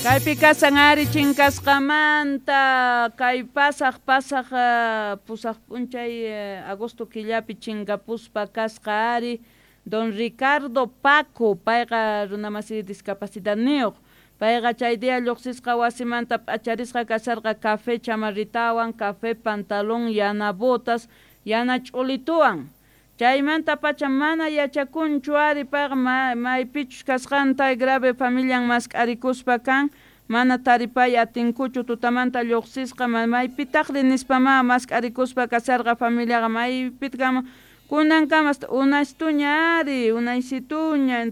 Kaypi kasan ari chinkasqamanta kay pasaq pasaq pusaq p'unchay agosto killapi chinkapuspa kasqa ari don Ricardo Paco, payqa runamasi discapacidadniyuq, payqa chay día lluqsisqa wasimanta p'acharisqa kasharqa café chamarritawan, café pantalón, yana botas, yana ch'ulituwan. Chaymanta pacha mana yachakunchu ari payqa maypichus kasqanta grave familian mask'arikuspa kan, mana taripay atinkuchu tutamanta lluqsisqa maypitaqri nispamá mask'arikuspa kasharqa familiaqa maypitaq kanman kunankama hasta unastuña ari unaysituña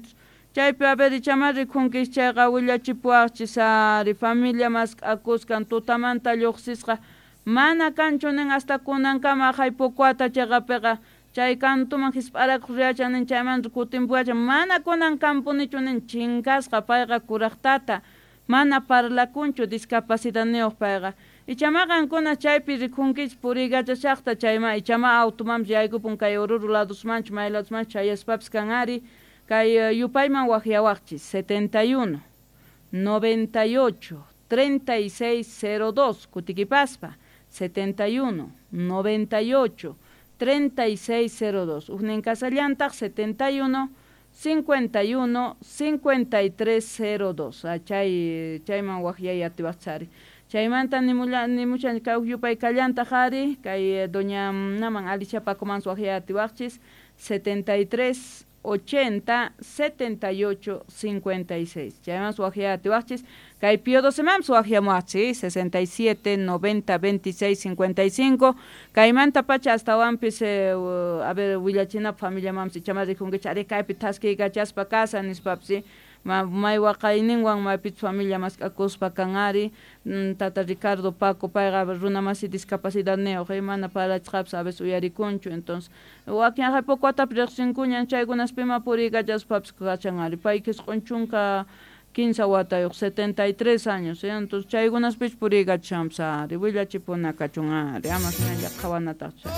chaypi a ver ichamá rikunkis chayqa willachipuwaqchis ari familia mask'akuskan tutamanta lluqsisqa mana kanchu nin hasta kunankama aqhay Pocoata chayqapiqa chay kantuman hisp'arakuq riyachan nin chaymanta kutinpuwachan mana kunan kampunichu nin chinkasqa payqa kuraq tata mana parlakunchu discapacidadniyuq payqa ichama qankuna chaypi rikunkichis puriykachashaqta chayma ichama automanpis yaykupun kay Oruro ladosmanchu may ladosmanchu chayaspapis kan ari kay yupayman waqyawaqchis 71 98 36 02 kutikipaspa 71 98 36 02 ujnin kasallantaq 71 51 53 02 chay chayman waqyay atiwaqchis ari chaymanta nimushan kay uj yupay kallantaq ari kay doña naman Alicia Pacoman waqyay atiwaqchis 73 80 78 56 chayman waqyay atiwaqchis kay Pío 12 manpis waqyamuwaqchis 67 90 26 55 kaymanta pacha astawanpis a ver willachinapaq familiamanpis ichama rikunkichis ari kaypi thaskiykachaspa kasa nispapis may waqayninwan maypichus familia mask'akuspa kan ari tata Ricardo Paco payqa runamasi discapacidadniyuq mana parlachisqapis a veces uyarikunchu entonces wakin aqhay Pocoatapi riqsinkuñan chaykunaspima puriykachaspapis kachan ari pay qhisq'un chunka kinsa watayuq 73 años entonces chaykunaspichu puriykachashanpis ari willachipuna kachun ari ama hinalla qhawanataqchu.